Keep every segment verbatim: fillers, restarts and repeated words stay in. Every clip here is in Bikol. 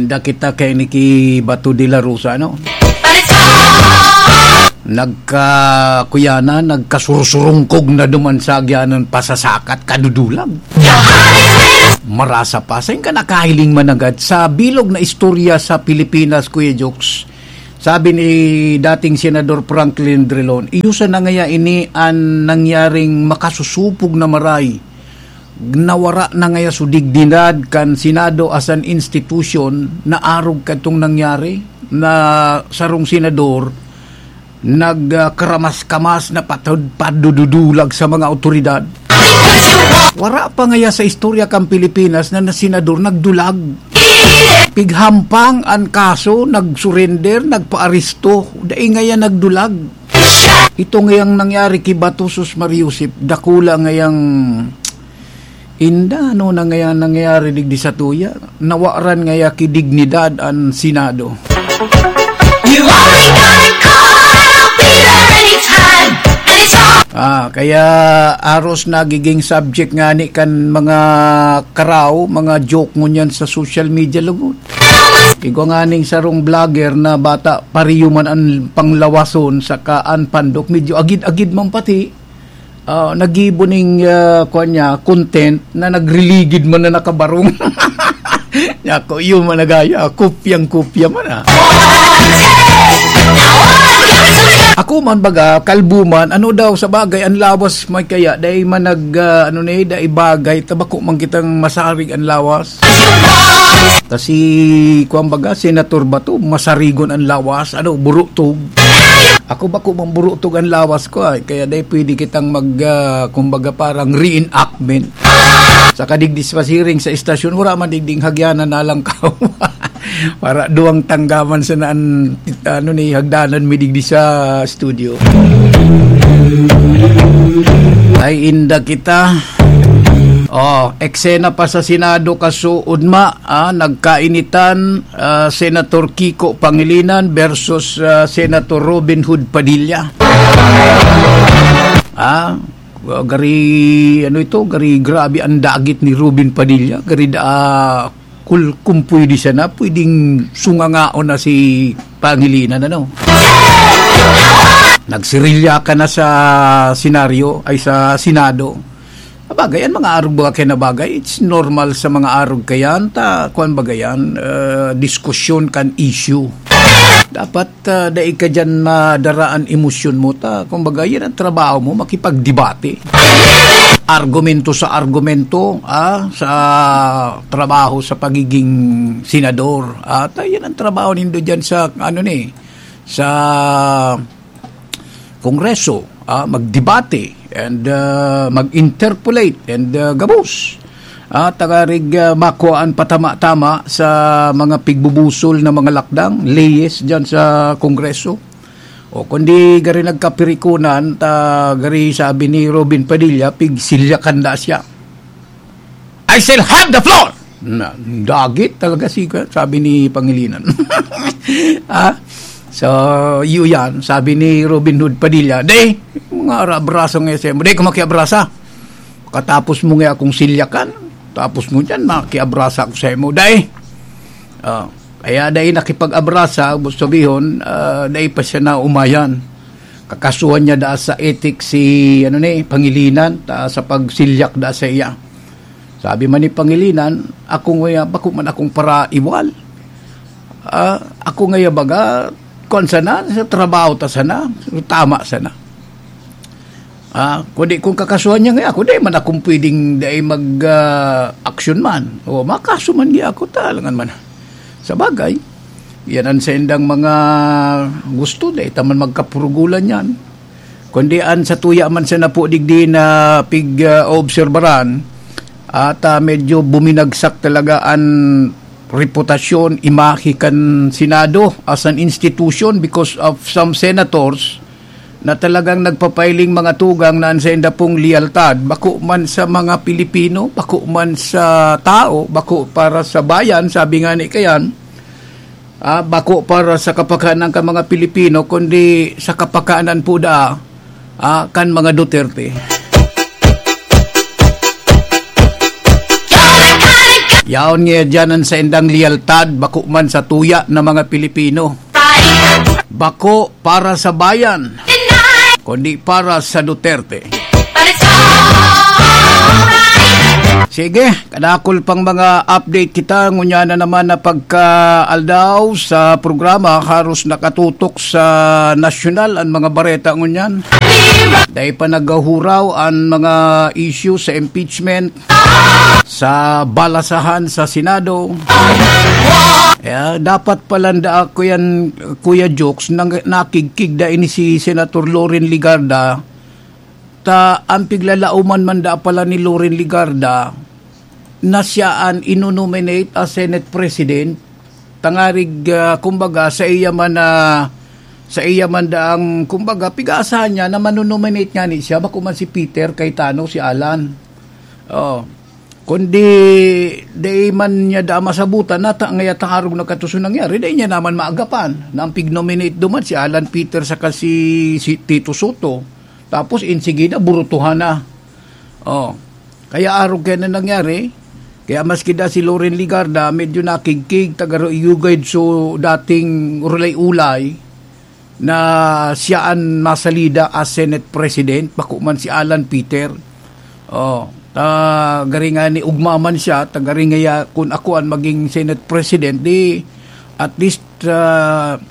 Da kita kay Niki Bato de la Rosa, no? Nagkakuyanan, nagkasursurungkog na duman sa agyanan, pasasakat, kadudulag. Marasa pa. Sain ka nakahiling managad sa bilog na istorya sa Pilipinas, Kuya Jokes? Sabi ni dating Senador Franklin Drilon, "Iyo sana ngaya ini an nangyaring makasusupog na maray. Nawara na ngaya so dignidad kan Senado as an institution na arog kadtong nangyari na sarong senador nag, ah, karamas-kamas na patod padududulag sa mga awtoridad." Wara pa ngaya sa istorya kan Pilipinas na, na senador nagdulag. Pighampang an kaso, nagsurrender, nagpaaresto. Dai ngaya nagdulag. Ito ngayang nangyari ki Bato, sus Mariusip, dakula ngayang inda, ano na ngaya nangyari digdi sa tuya? Nawaran ngaya ki dignidad an Senado. You only gotta call, I'll be there anytime, and it's all Ah, kaya aros nagiging subject ngani kan mga karaw, mga joke ngunyan sa social media lugod. Igwa nganing sarong vlogger na bata, pariyo man an panglawason saka an pandok, medyo agid-agid man pati. Ah, nagibo ning, ah, kuwan niya, content na nagriligid man na nakabarong. Ako, iyo man nagaya, kopyang-kopya man, ah. Ako man baga, kalbo man, ano daw, sa bagay, an lawas may kaya, dai man nag, ah, ano ni, dai bagay, ta bako man kitang masarig an lawas. Ta si, kuwan baga, Senator Bato, masarigon an lawas, ano, burutog. Ako bako man burutog an lawas ko, ay, kaya dai pwede kitang mag, ah, kumbaga, parang reenactment. Sa kadigdi sa pasiring sa istasyon, wala man digding hagyanan nalangkaw. Para duwang tanggaman sa naan, ano ni, hagdanan mi digdi sa studio. Ay, inda kita. Oh, eksena pa sa Senado, kasuod ma, ah, nagkainitan, ah, Senator Kiko Pangilinan versus, ah, Senator Robin Hood Padilla. Ah, gari, ano ito, gari grabe ang dagit ni Robin Padilla. Gari da, kul-, kung pwede sana, pwedeng sungangaon na si Pangilinan, ano? Nagsirilya ka na sa senaryo, ay, sa Senado. Bagay, an mga arog baga kaya na bagay, it's normal sa mga arog kayan, ta, kuwan baga yan, ah, diskusyon kan issue. Dapat, ah, dai ka diyan madara an emosyon mo, ta, kumbaga, yan ang trabaho mo, makipagdebate. Argumento sa argumento, ah, sa trabaho sa pagiging senador. At, ah, yan ang trabaho nindo diyan sa, ano ni, sa Kongreso, ah, magdebate and, ah, mag-interpolate and, ah, gabos. Ah, tagarig, ah, makuha an patama-tama sa mga pigbubusol na mga lakdang, leyes diyan sa Kongreso. O kundi gari nagkapirikunan, ta gari sabi ni Robin Padilla, pigsilyakan da siya. "I shall have the floor!" Na, dagit talaga si, sabi ni Pangilinan. Ah? So, iyo yan, sabi ni Robin Hood Padilla, "Dai, mga ara-, abraso nga sa imo. Dai ko makiabrasa. Katapos mo nga akong silyakan, tapos mo dyan, makiabrasa ako sa imo. Dai." Ah, kaya dai nakipag-abrasa, gusto sabihon, ah, dai pa siya naumayan. Kakasuhan niya da sa ethics si, ano ni, Pangilinan, ta, sa pagsilyak da sa iya. Sabi man ni Pangilinan, "Ako nguya, bako man akong paraiwal. Ah, ako ngaya baga, kuwan sana, sa trabaho ta sana, tama sana. Ah, kundi kung kakasuhan niya ngaya ako, di man akong pwedeng dai mag, ah, aksyon man. O, makaso man niya ako, talangan man." Sa bagay, yan ang saindang mga gusto, dai ta man magkapurugulan yan. Kundi an satuya man sa napo digdi na pig, ah, obserbaran, at, ah, medyo buminagsak talaga an reputasyon, imahe kan Senado as an institution because of some senators na talagang nagpapailing mga tugang na an sainda pong liyaltad, bako man sa mga Pilipino, bako man sa tao, bako para sa bayan, sabi nga ni kayan, ah, bako para sa kapakanan kan mga Pilipino, kundi sa kapakanan po da, ah, kan mga Duterte. Yaon niya dyan ang saindang liyaltad, bako man sa tuya na mga Pilipino. Bako para sa bayan, kundi para sa Duterte. Sige, kadakol pang mga update kita. Ngunyan na naman na pagka-aldaw sa programa, haros nakatutok sa nasyonal ang mga bareta ngunyan. Dai pa naghahuraw ang mga issue sa impeachment, sa balasahan sa Senado. Kaya dapat pala nda ako yan, Kuya Jokes, nang nakigkig da ini si Senator Loren Legarda, ta ang piglalauman man da pala ni Loren Legarda na siya an inonominate as Senate President, tangarig, ah, kumbaga, sa iya man na, sa iya man daang, kumbaga, pig-aasahan niya na manonominate ngani siya, bako man si Peter Cayetano, si Alan. Oh. Kundi, dai man niya da masabutan na ta-, ngaya tangarog na katuso nangyari, dai niya naman maagapan na ang pig-nominate duman si Alan Peter saka si, si Tito Soto. Tapos, insigida, burutuhan na. Oh. Kaya arog kaya na nangyari, kaya maski da si Loren Legarda, medyo nakigkig, taga Ro-, Yugay so dating ulay-ulay, na siya an masalida as Senate President, bako man si Alan Peter. Oh, ta, gari nga ni ugma man siya, ta gari nga ya, kun ako an maging Senate President, di at least, ah,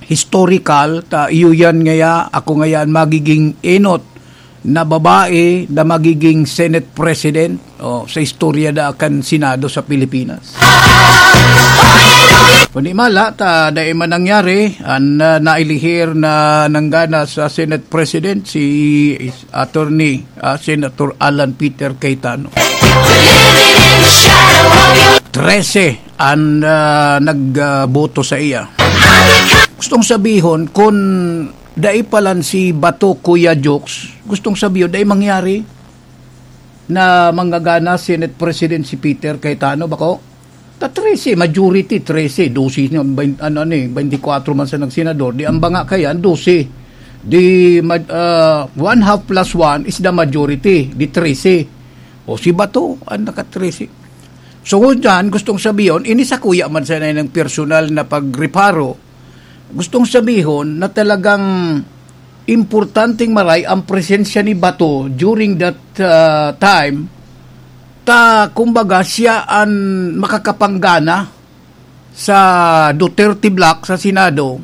historical, ta iyo yan ngaya, ako ngaya an magiging enot na babae na magiging Senate President, oh, sa istorya da kan Senado sa Pilipinas. Kundi mala, ta dai man nangyari, an, ah, nailihir na nanggana sa Senate President si is-, Attorney, ah, Senator Alan Peter Cayetano. Trese an, ah, nagboto sa iya. Gustong sabihon, kun dai palan si Bato, Kuya Jokes, gustong sabihon, dai mangyari na manggagana Senate President si Peter Cayetano, bako? Ta trese, majority, trese, dose na, bain-, ano, ano eh, twenty-four man sa nagsenador, di ang banga kayan, dose. Di, ma-, ah, one half plus one is the majority, di trese. O si Bato, ang naka-trese. So, dyan, gustong sabihon, ini sa kuya man sana ng personal na pagreparo, gustong sabihon na talagang importanteng maray ang presensya ni Bato during that, ah, time. Ta, kumbaga, siya an makakapanggana sa Duterte bloc sa Senado,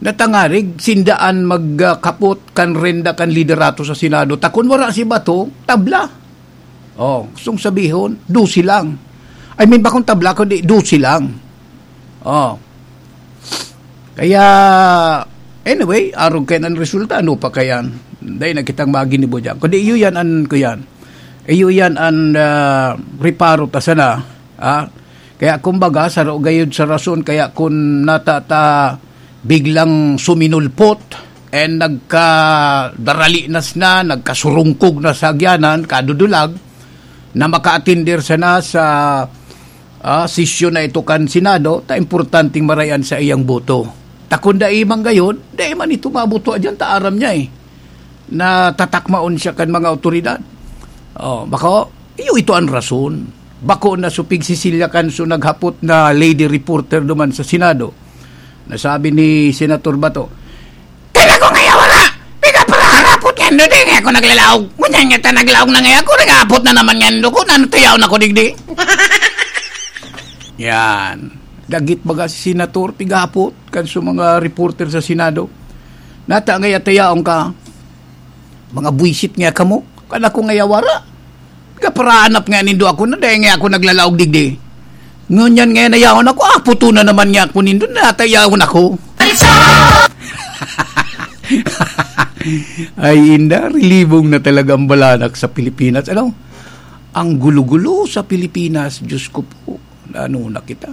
na tangarig sinda an magkapot kan renda kan liderato sa Senado. Ta kun wara si Bato, tabla. Oh, gustong sabihon, dose lang. I mean, bakong tabla, kundi dose lang. Oh. Kaya, anyway, arog kayan an resulta, ano pa kayan? Dai na kitang maginibo diyan. Kundi iyo yan an, kuyan. Iyo yan an, ah, reparo ta sana, ah. Kaya kumbaga, saro gayud sa rason, kaya kun nata ta biglang suminulpot, and nagkadaralinas na, nagkasurungkog na sa agyanan, kadudulag, na makaatender sana sa, ah, sesyon na ito kan Senado, ta importanteng marayan sa iyang boto. Ta kun dai man gayon, dai man ito mabuto dyan, ta aram niya eh, na tatakmaon siya kan mga awtoridad. Oh, bako, iyo ito an rason. Bako na supig si Celia Canso naghapot na lady reporter duman sa Senado. Nasabi ni Senator Bato, "Kaya ko ngaya wala! Piga para harapot nga ndo, di nga ako naglalaog. Ngunyan nga ta naglaog na ngaya ako, naghapot na naman nga ndo ko, nano tayaw na ko digdi?" Yan. Dagit baga si Senator, pighapot kan sa mga reporter sa Senado. Nata ngaya tayaon ka. Mga buwisit nga kamo, kan ako ngaya wara. Kaparaanap nga nindo ako na dahil nga ako naglalaog digdi. Ngunyan nga nayaon ako, aputo na naman nga ako nindo, natayawon ako. Ay, inda, rilibong na talaga ang balanak sa Pilipinas. Ano? Ang gulo-gulo sa Pilipinas, Diyos ko po, ano na kita?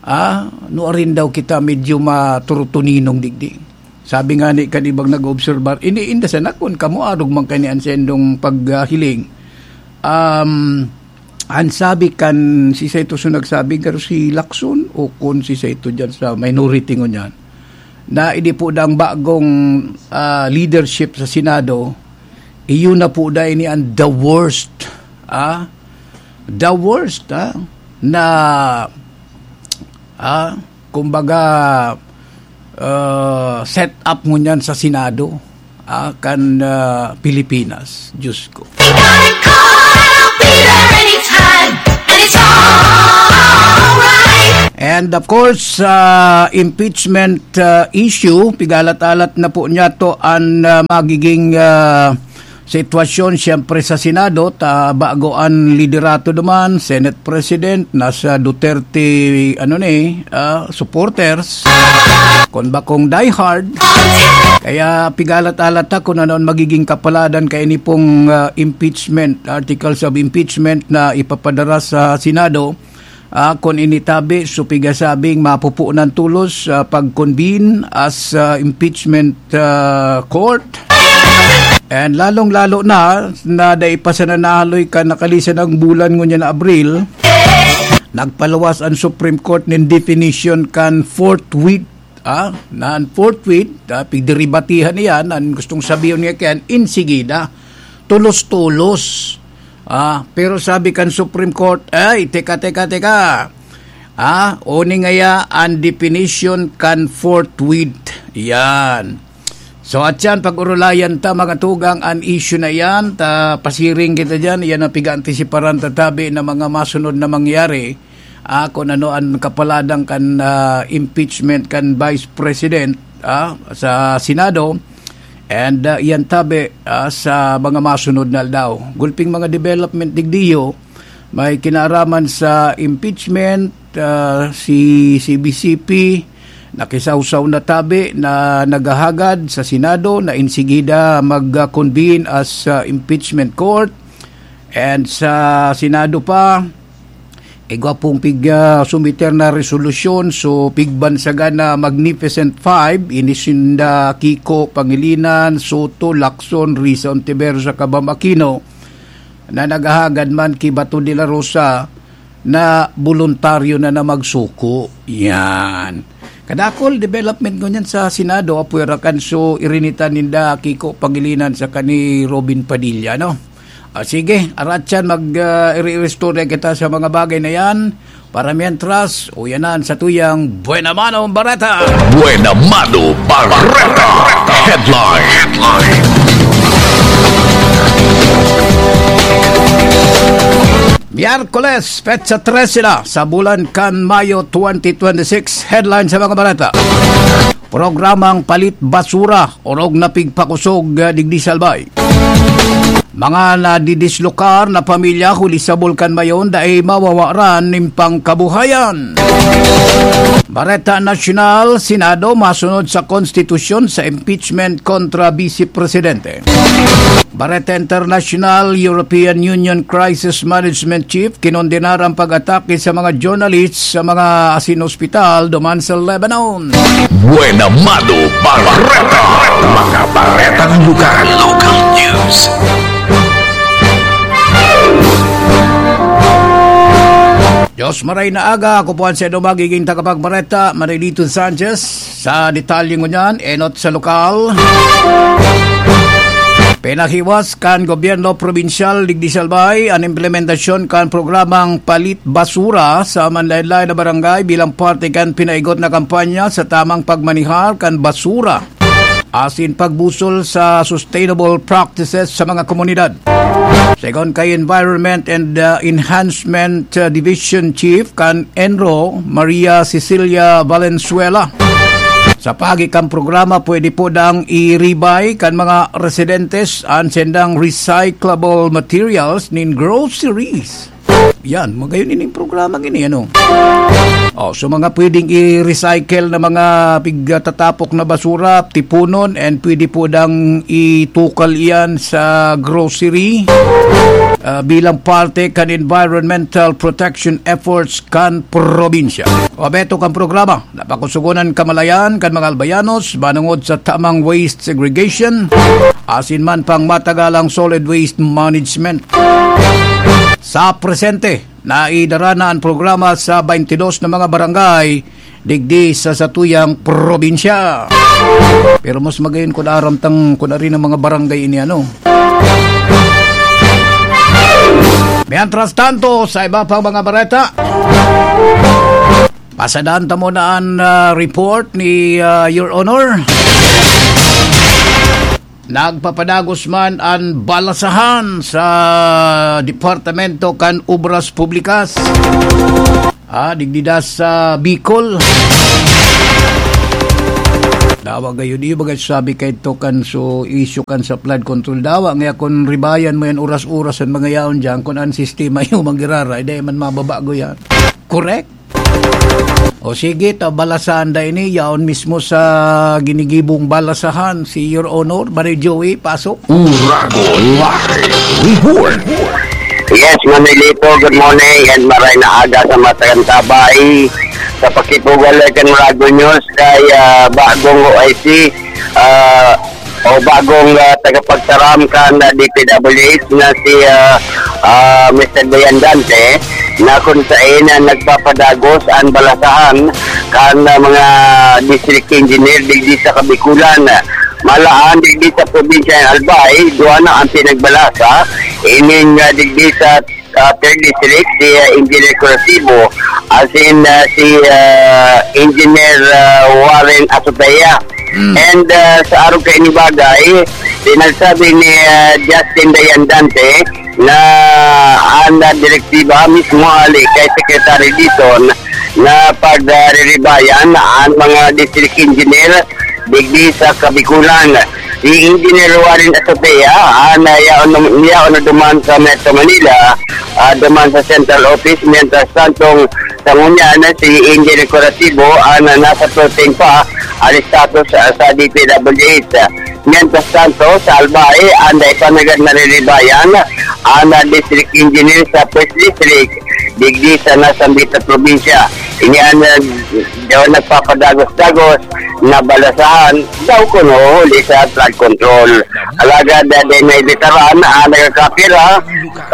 Ah, nuarin daw kita medyo maturutuninong digdi. Sabi nga ni kan ibang nag-obserbar, "Ini inda sana kun kamo arog man kani an sendong paghiling." Um, ang sabi kan, si Saito so nagsabi, garo si Lacson o kun si Saito dyan sa minority ngunyan, na ini po dang bagong, ah, leadership sa Senado, iyon na po da ini ang the worst, ah, the worst, ah, na, ah, kumbaga, ah, set up ngunyan sa Senado, ah, kan, ah, Pilipinas. Diyos ko. You got it caught, I'll be there anytime, and it's alright. And of course, ah, impeachment, ah, issue, pigalat-alat na po niya to an, ah, magiging, ah, sitwasyon, siyempre, sa Senado, ta bago an liderato duman, Senate President, nasa Duterte, ano ni, ah, supporters, kun bakong diehard. Kaya pigalat-alat ta kun ano an magiging kapaladan kaini pong, ah, impeachment, articles of impeachment na ipapadara sa Senado. Ah, kun ini tabi, so pigasabing mapupunan tolos, ah, pag-convene as, ah, impeachment, ah, court. And lalong-lalo na, na dai pa sana nahaloy kan nakalisan na bulan ngunyan na Abril, nagpaluwas an Supreme Court nin definition kan forthwith, ah, na an forthwith, ah, pigderibatihan iyan, an gustong sabihon niya kaya, enseguida, tulos-tulos. Ah, pero sabi kan Supreme Court, "Ay, teka, teka, teka. Ah, oni ngaya an definition kan forthwith." Yan. So, at yan, pag-urulayan ta, mga tugang, an issue na yan, ta pasiring kita dyan, yan ang pig-aantisiparan ta tabi na mga masunod na mangyari, ah, kung ano an kapaladan kan, ah, impeachment kan Vice President, ah, sa Senado, and, ah, yan tabi, ah, sa mga masunod na aldaw. Gulping mga development digdiyo, may kinaaraman sa impeachment, ah, si C B C P, nakisawsaw na tabi na naghahagad sa Senado na insigida mag-convene as, ah, impeachment court. And sa Senado pa, igwa pong pig, ah, sumiter na resolusyon, so pigbansagan na Magnificent Five, ini sinda Kiko Pangilinan, Soto, Lacson, Risa Ontiveros, saka Bam Aquino, na naghahagad man ki Bato de la Rosa na boluntaryo na na magsuko. Yan. Kadakol development ngunyan sa Senado, apwera kan so irinitan ninda Kiko Pangilinan saka ni Robin Padilla, no? Ah, sige, aratyan, mag, ah, iri-istorya kita sa mga bagay na yan. Para mientras, uyanan sa tuyang Buena Mano Bareta. Buena Mano Bareta. Headline. Headline. Miyerkules, petsa trese na sa bulan kan Mayo twenty twenty-six. Headline sa mga bareta. Programang palit basura, orog na pigpakosog, ah, digdi sa Albay. Mga nadidislokar na pamilya huli sa Bulkan Mayon dai mawawaran nin pangkabuhayan. Bareta Nasyonal, Senado masunod sa konstitusyon sa impeachment kontra Vice Presidente. Bareta Internasyonal, European Union Crisis Management Chief kinondenar ang pag-atake sa mga journalists sa mga asin ospital duman sa Lebanon. Buena Mano Bareta. Mga baretang lugar. Local news. Diyos maray na aga, ako po ang sendo magiging tagapagbareta, Marilito Sanchez. Sa detalye ngunyan, enot sa lokal. Pinahiwas kan gobyerno probinsyal digdi sa Albay an implementasyon kan programang Palit Basura sa manlaen-laen na barangay bilang parte kan pinaigot na kampanya sa tamang pagmanihar kan basura asin pagbusol sa sustainable practices sa mga komunidad. Segun kay Environment and, uh, Enhancement, uh, Division Chief kan ENRO, Maria Cecilia Valenzuela, sa paagi kan programa, pwede po dang iribay kan mga residentes an sendang recyclable materials nin groceries. Yan, magayon ining programa ini, ano? Oh, so mga pwedeng i-recycle na mga pigtatapok na basura, tipunon, and pwede po dang itukal iyan sa grocery, ah, bilang parte kan environmental protection efforts kan probinsya. O abeto kan programa, napakusugonan kamalayan kan mga Albayanos manungod sa tamang waste segregation, asin man pang matagalang solid waste management. Sa presente, naidara na an programa sa twenty-dos na mga barangay digdi sa satuyang probinsya. Pero mas magayon kun aram tang kun ari na mga barangay ini, ano. Mientras tanto, sa iba pang mga bareta, pasadan ta muna an, ah, report ni, ah, Your Honor. Nagpapadagos man an balasahan sa Departamento kan Obras Publikas. Ah, digdi da sa Bicol. Dawa gayon, iyo bagay sabi kay to kan so issue kan sa flood control. Dawa nga kun ribayan mo yan oras-oras an mga yaon diyan, kun an sistema iyo manggiraray, dai man mababago yan. Correct? O sige, ta balasahan da ini, yaon mismo sa ginigibong balasahan, si Your Honor, Manoy Joey, pasok. Uragon Live Report. Yes, Manolito, good morning and maray na aga sa mga tagantabay. Sa pakipugalay kan Uragon News kay, ah, bagong O I C, ah, o bagong, ah, tagapagtaram kan, ah, D P W H na si, ah, ah, Mister Dayan Dante, na kun saen na nagpapadagos an balasahan kan, ah, mga district engineer digdi sa Kabikulan. Malaan digdi sa probinsya ng Albay, duwa na ang pinagbalasa. Ining, ah, digdi sa, ah, third district, si, ah, Engineer Curatibo, asin, ah, si, ah, Engineer, ah, Warren Azotea. Mm. And, ah, sa arog kaini bagay, pinagsabi ni, ah, Justin Dayan Dante na an, ah, direktiba mismo hali kay Secretary Dizon na pag, ah, riribayan an mga district engineer digdi sa Kabikulan. Si Engineer Warren Azotea, ah, na yaon, yaon na duman sa Metro Manila, ah, duman sa Central Office, mientras tantong sa ngunyan na si Engineer Curatibo, ah, na nasa floating pa ang status, ah, sa D P W H. Mientras tanto, sa Albay, ang dai pa nanggad nariribayan, ang, ah, district engineer sa First District, digdi sa nasambit na probinsya. Ini ang, ah, daw nagpapadagos-dagos na balasahan daw kuno huli sa flood control. Alagad, ah, dai naibitaran ang nagkakapira,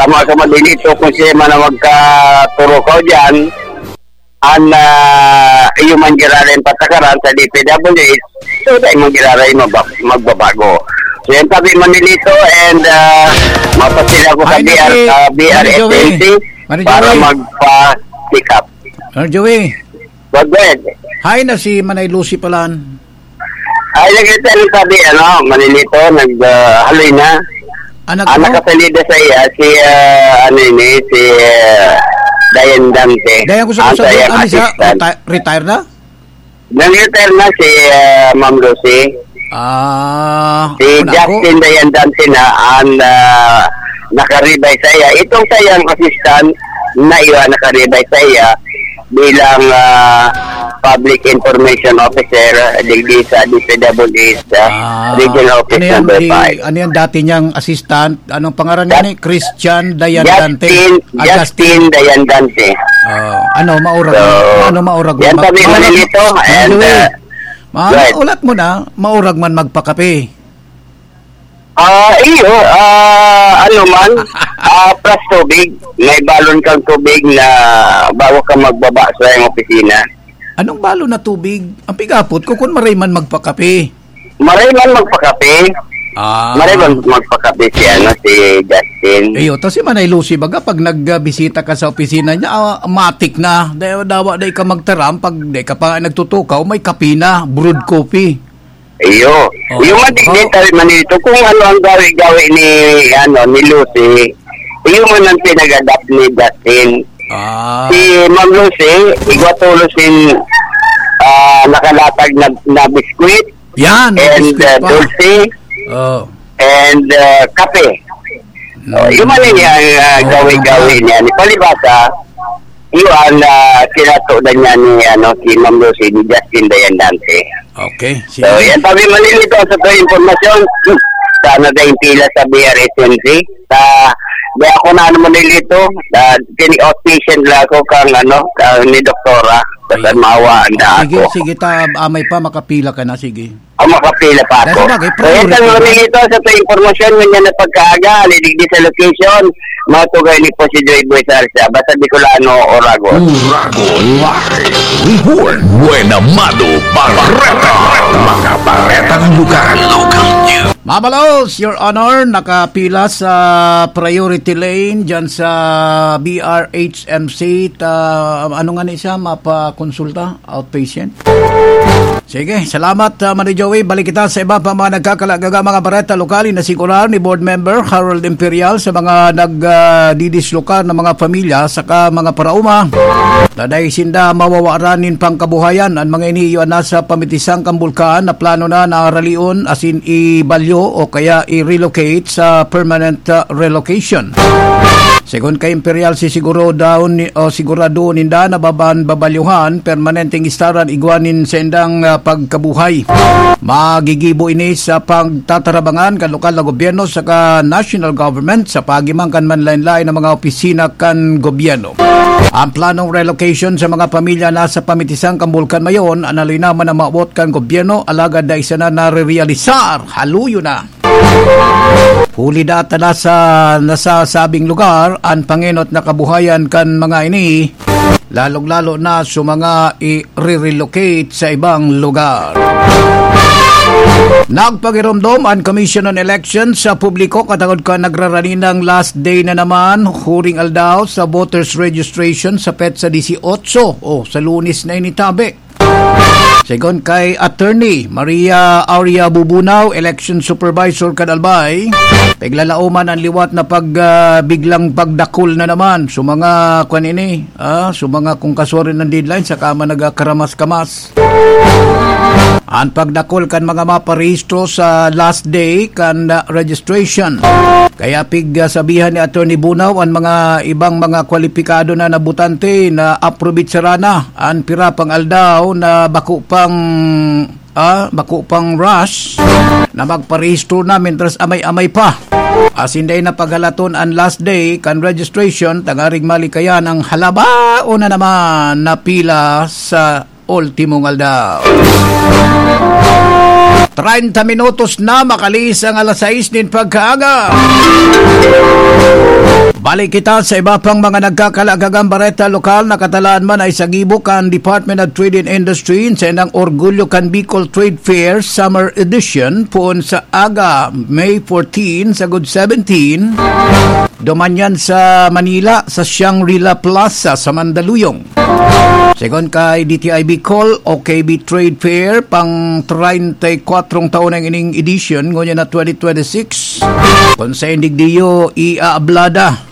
tama sa Manolito kung siya man ang magkaturukaw diyan, an, ah, iyo man giraray patakaran sa D P W H, so dai man giraray mabag-, magbabago. So, yan tabi Manolito and, ah, mapasila ko sa Ay, B R, naki-, ah, B R Manoy Joey. Agency Manoy para Joey. Magpa-check up. Manoy Joey. Go ahead. Hi na si Manay Lucy palan. Ay, nag-retire na sabi, ano, Manolito, nag, ah, haloy na. Anak Ang mo? Nakasalida sa iya, si, ah, ano yun eh, si, ah, Dayan Dante. Dayan ko sa Ang kusa, sayang ano siya? assistant. Reti-, retire na? Nag-retire na si, ah, Ma'am Lucy. Ah, Si ako na ako. Justin Dayan Dante na ang, ah, nakaribay sa iya. Itong sayang assistant na iyo ang nakaribay sa iya bilang, ah, public information officer digdi sa D P W H, ah, Ah, regional office ano yan, number di, five. Ano yan dati niyang assistant? Anong pangaran niya Jus-, ni? Christian Dayan Dante. Justin, Ah, Justin. Justin Dayan Dante. Oh, ano, maurag So, man, ano, maurag man yan mag-, sabi maurag man, Manolito, and, Manolito, uh, ma-, go ahead. Ulat mo na, maurag man magpakape. Ah, iyo, ah, ano man, ah, plus tubig. May balon kang tubig na bago ka magbaba sa iyong opisina. Anong balon na tubig? Ang pigapot ko, kung maray man magpakape. Maray man magpakape. Ah. Maray man magpakape si, ano, si Justin. Iyo, tas si Manay Lucy, baga, pag nagbisita ka sa opisina niya, ah, matik na. Dawa, dawa, dai ka magtaram, pag dai ka pa nagtutukaw, may kape na, brewed coffee. Iyo. Oo. Yung matigit, Oo. Sabi man nito, kung ano ang gawi-gawi ni, ano, ni Lucy, iyo man ang pinag-adapt ni Justin. Ah. Si Ma'am Lucy, igwa tolos in, ah, nakalatag na, na biskwit Yan, may and, biskwit ah, pa. Dulce Oh. and, ah, kape. Oh, Mm. yung ano niya, ah, Oo, gawi-gawi ano ba? niya. Ni palibasa, yun, ah, kinatudan niya ni, ano, si Ma'am Lucy, ni Justin Dayan Dante. Okay, So, sige. yan, sabi Manolito, sa to impormasyon, hmm, sana dahil pila sa B R S M C. Sa, di ako na, ano, Manolito, ah, kini outpatient lang ako kang, ano, kang ni Doktora. Basta Ayun. Maawa ang daan Sige, ko. Sige, ta, amay pa, makapila ka na, sige. Ang makapila pa Dahil ako. Sa bagay, Kaya priority sa mga na. Milito, sa ito impormasyon, ngunyan na pagkaaga, alidigdi sa location, mga tugay ni po si Joy Boy Sarsia, basta Bicolano, Oragon. Oragon Live Report. Buena Mado Barreta. Mga baretang lugar. Local news. Mabalos, Your Honor, nakapila sa priority lane dyan sa B R H M C. Ta, ano nga ni siya, mapakonsulta? Outpatient. Sige, salamat, ah, Manoy Joey. Balik kita sa iba pa mga nagkakalagaga, mga bareta lokal. Inasigurar ni Board Member Harold Imperial sa mga nag, ah, didislokar na mga pamilya saka mga paraoma na dai sinda mawawaran nin pangkabuhayan. An mga ini iyo an nasa pamitisang kan bulkan na plano na na ralion, asin ibalyo o kaya i-relocate sa permanent, ah, relocation. Segun kay Imperial, sisiguro daw ni, o sigurado ninda na baban babalyuhan, permanenteng istaran igwa nin saindang, ah, pagkabuhay. Magigibo ini sa pagtatarabangan kan lokal na gobyerno saka national government sa paagi man kan manlain-lain na mga opisina kan gobyerno. Ang planong relocation sa mga pamilya nasa pamitisang kan Bulkan Mayon, an nalinaman na maabot kan gobyerno, alagad dai sana narerealisar. Haluyo na. Huli data na sa nasasabing lugar an pangenot na kabuhayan kan mga ini, lalong-lalo na sa mga i-relocate sa ibang lugar. Nagpagiromdom an Commission on Elections sa publiko katangod kan nagraraninang last day na naman, huring aldaw sa voters registration sa petsa dieciocho o sa Lunes na ini tabi. Segun kay Attorney Maria Aurea Bubunaw, Election Supervisor kan Albay, piglalaoman an liwat na pag, ah, biglang pagdakul na naman sa mga, kwan ini, ah, sa mga kung kasuarin ng deadline, saka man nagkakaramas-kamas. An pagdakul kan mga maparehistro sa last day kan, ah, registration. Kaya pig, ah, sabihan ni Attorney Bunaw an mga ibang mga kwalipikado na nabutante na aprobitsara na an pira pang aldaw na bako pang, ah, bako pang rush na magparehistro na, mientras amay-amay pa. Asin dai na paghalaton an last day kan registration, tangaring malikayan ang halabaon na naman na pila sa ultimong aldaw. Treinta minutos na makalihis ang alas sais nin pagkaaga. Balik kita sa iba pang mga nagkakalagagang bareta lokal na katalaan man ay sa gibo kan Department of Trade and Industry sa inang Orgulyo kan Bicol Trade Fair Summer Edition poon sa aga, May fourteen sagod seventeen. Duman yan sa Manila, sa Shangri-La Plaza sa Mandaluyong. Segun kay D T I Bicol, O K B Trade Fair, pang treinta y kuatro taon ang ining edition, ngunyan na twenty twenty-six. Kung sa indigdiyo, iaablada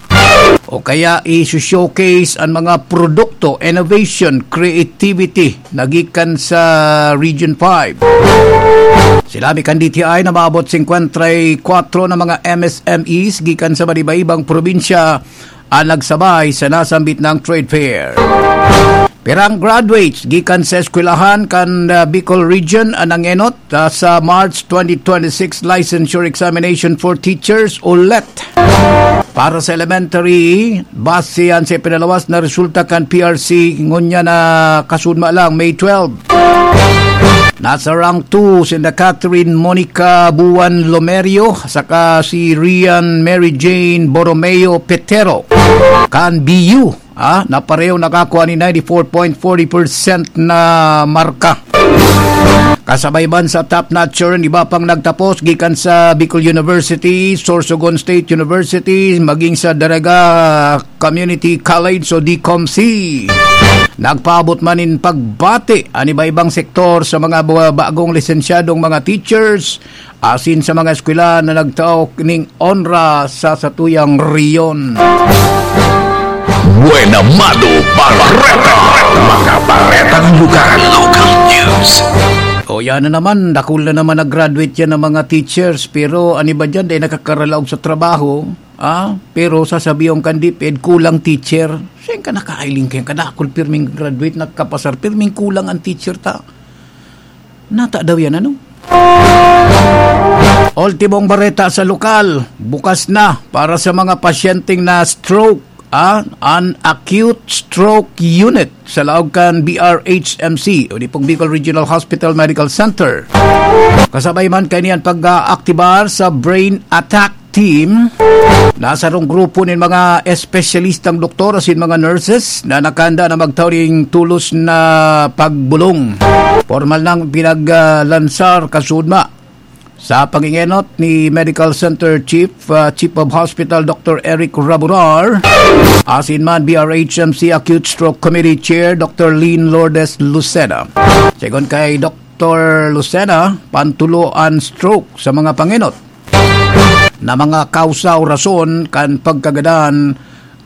o kaya i-showcase ang mga produkto, innovation, creativity na gikan sa Region five. Sila mi kan D T I na maabot singkwenta y kuatro na mga M S M Es gikan sa iba-ibang probinsya ang nagsabay sa nasambit na trade fair. Pirang graduates gikan sa eskwelahan kan, ah, Bicol Region ang nangenot, ah, sa March twenty twenty-six Licensure Examination for Teachers o let para sa elementary, base yan sa ipinalawas na resulta kan P R C, ngunya na kasudma lang, May twelve. Nasa rank two sinda Catherine Monica Buan Lomerio saka si Rian Mary Jane Borromeo Petero kan B U, ah, na pareho nakakua nin ninety-four point forty percent na marka. Kasabay man sa top notcher, iba pang nagtapos gikan sa Bicol University, Sorsogon State University, maging sa Daraga Community College o D COMC. Nagpaabot man nin pagbati an iba-ibang sektor sa mga ba-, bagong lisensyadong mga teachers, asin sa mga eskwela na nagtao ning onra sa satuyang rehiyon. Buena Mado Barreta, mga baretang lugar, local news. O, yan na naman, dakul na naman nag-graduate yan ng mga teachers, pero an iba dyan, dai nakakaralaog sa trabaho, ah, pero sasabihan kan DepEd, kulang teacher. Saan ka nakailing kayang kadakul, pirming graduate, nagkapasar, pirming kulang ang teacher ta. Nata daw yan, ano? Ultimong bareta sa lokal, bukas na para sa mga pasyenteng na stroke ah, an acute stroke unit sa laog kan B R H M C, o di pong Bicol Regional Hospital Medical Center. Kasabay man kaini an pag-aaktibar sa brain attack team na sarong grupo nin mga espesyalistang doktor asin mga nurses na nakahanda na magtao nin tulos na pagbulong. Pormal nang pinaglansar kasudma sa pangingenot ni Medical Center Chief, ah, Chief of Hospital Doctor Eric Raburar, asin man B R H M C Acute Stroke Committee Chair Doctor Lynn Lourdes Lucena. Segun kay Doctor Lucena, pantulo an stroke sa mga pangenot na mga kausa o rason kan pagkagadan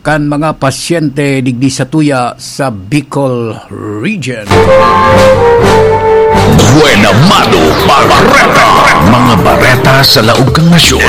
kan mga pasyente digdi sa tuya sa Bicol Region. Buena Mano Bareta. Mga bareta sa laog kan nasyon.